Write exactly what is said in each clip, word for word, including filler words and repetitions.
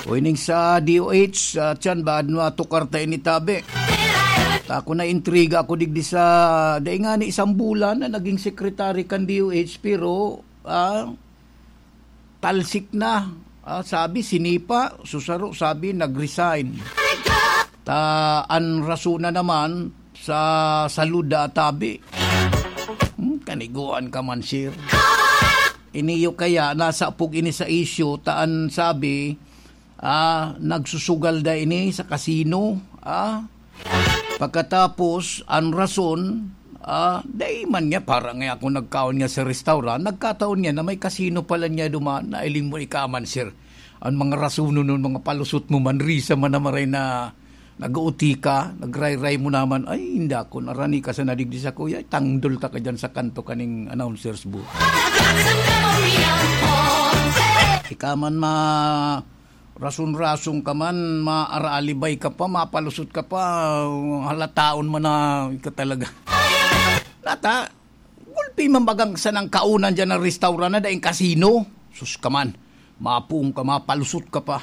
O ining sa D O H, ah, tiyan ba, ano, tukar ta ini tabi? Ta ako, naintriga ako digdi sa, dai nga ni isang bulan na naging secretary kan D O H, pero, ah, talsik na. Ah, sabi, sinipa, susaro, sabi, nag-resign. Ta, an rason na naman, sa salud da tabi. Hmm, kaniguan ka man, sir. Iniyo kaya, nasapog ini sa isyu, ta an sabi, ah, nagsusugal da ini sa kasino, ah. Pagkatapos, an rason, ah, dai man niya, para nga ako nagkaon nga sa restaurant, nagkataon niya na may kasino pala niya duman, nailing mo ikaman, sir. An mga rason nun, mga palusot mo, manrisa man na maray na nag-O T ka, nagrayray mo naman, ay, hindi ako, narani ka sa nadigdi sa kuya, tangdol ta ka dyan sa kanto kaning announcers booth. Ika man ma-, rason-rason ka man, maaralibay ka pa, mapalusot ka pa, halataon man na ika talaga. Nata, gulpi man bagang sanang kaunan dyan ng restaurant na daing kasino. Sus ka man, mapuong ka, mapalusot ka pa.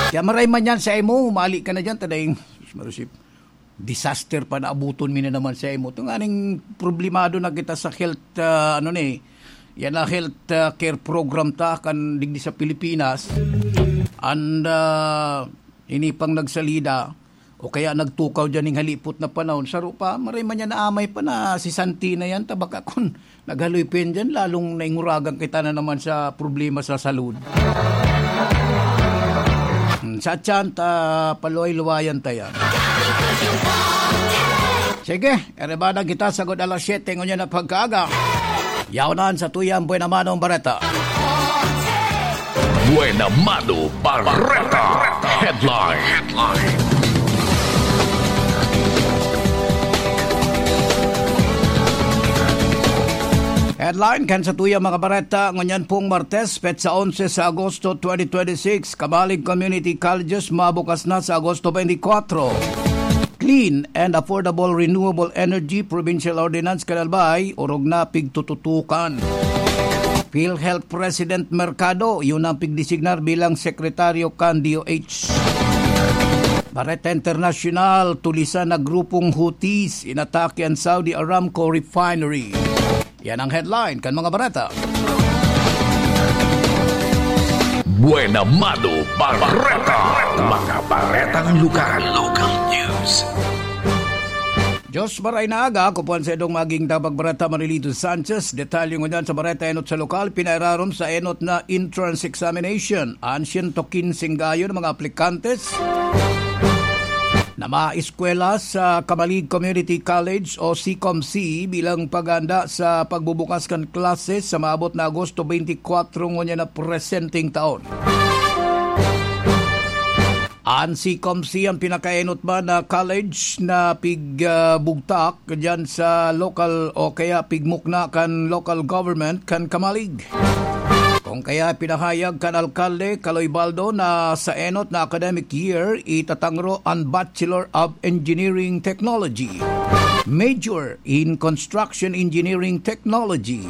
Kaya maray man yan sa imo, humali ka na dyan, tadaing, sus, marusip. Disaster pa na abuton mi na naman sa imo. Ito nga ning problemado na kita sa health, ah, ano ni, yan na health, ah, care program ta kan digdi sa Pilipinas. And, ah, ini pang nagsalida, o kaya nagtukaw dyan ning halipot na panahon. Saro pa, maray man yan na amay pa na si Santi na yan, tabaka kun naghaloy pa yan dyan, lalong nainguragan kita na naman sa problema sa salud. Hmm, sa tiyan, ta, paluway-luwayan ta yan. Sige, erebada kita sagod alas siyete ngunyan na pagkaaga. Yaonan sa tuyang Buena Manong Bareta. Buena Mano Bareta. Headline. Headline kan sa tuyang mga bareta, ngunyan pong Martes, petsa onse sa Agosto twenty twenty-six, Kamalig Community Colleges mabukas na sa Agosto twenty-four. Clean and Affordable Renewable Energy Provincial Ordinance kan Albay, orog na pigtututukan. PhilHealth President Mercado, yun ang pigdesignar bilang sekretaryo kan D O H. Bareta International, tulisan na grupong Houthis, inatake ang Saudi Aramco refinery. Yan ang headline kan mga bareta. Buena Mano Bareta. Mga baretang lokal. Local news. Diyos maray na aga, ako po ang sa edong maging tabagbareta, Marilito Sanchez. Detalye ngunyan sa bareta enot sa lokal, pinairarom sa enot na entrance examination. An siyento kinseng gayo na mga aplikantes na maeskwela sa Kamalig Community College o CCOMC bilang paghahanda sa pagbubukas kan klase sa maabot na Agosto twenty-four ngunyan na presenteng taon. An CCOMC ang pinakaenot man na college na pig, ah, bugtak diyan sa local o kaya pigmukna kan local government kan Kamalig. Kung kaya pinahayag kan Alkalde Caloy Baldo na sa enot na academic year, itatangro an Bachelor of Engineering Technology, major in Construction Engineering Technology.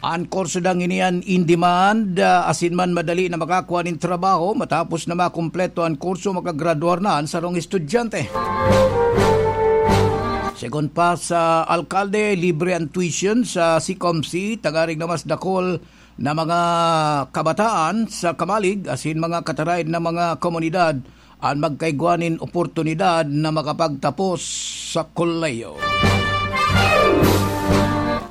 An kurso dang ini an in demand, ah, asin man madali na makakua nin trabaho. Matapos na makumpleto an kurso, makagraduar na an sarong estudyante. Segun pa sa alkalde, libre an tuition sa CCOMC, tanganing na mas dakul na mga kabataan sa Kamalig asin mga kataraed na mga komunidad an magkaigwa nin oportunidad na makapagtapos sa kolehiyo.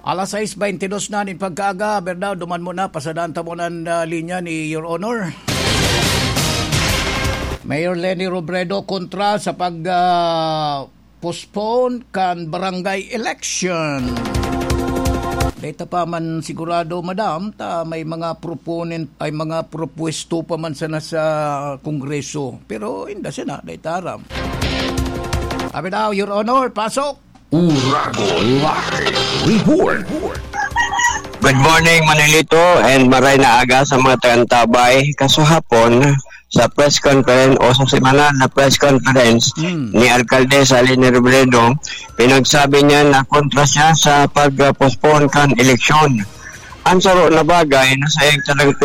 Alas sais beintidos na nin pagkaaga, Bernal, duman mo na, pasadaan ta mo nan, ah, linya ni Your Honor. Mayor Leni Robredo kontra sa pag, ah, postpone kan barangay election. Data pa man sigurado, madam, ta may mga proponent, ay mga propuesto pa man sana sa Kongreso. Pero inda sana, data aram. Abi daw, Your Honor, pasok! Uragon Live Report. Good morning, Manilito, and maray na aga sa mga tagantabay. Kasahapon, sa press conference o sa semanal na press conference Hmm. ni Alkalde Leni Robredo, pinagsabi niya na kontra siya sa pag-postpone kan eleksyon. Ang saro na bagay na sa iyang talagang